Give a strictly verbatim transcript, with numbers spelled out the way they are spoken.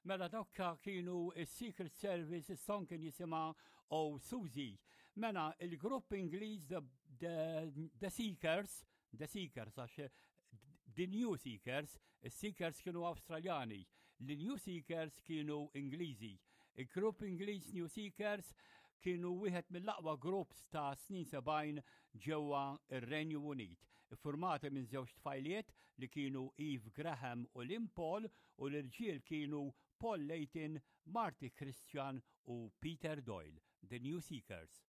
Mela dawk kienu is-Secret Service, is-song kien jisimha Oh Susie. Mela il-grupp Ingliż The, The, The Seekers, The Seekers għax The New Seekers, is-Seekers kienu Awstraljani, the New Seekers kienu Ingliżi. Il-grupp Ingliż New Seekers kienu wieħed mill-aqwa groups ta' snin sebgħin ġewwa ir-Renju Unit. Formati minn żewġ tfajliet li kienu Eve Graham u Lynn Paul u l-irġiel kienu Paul Layton, Marty Christian u Peter Doyle, The New Seekers.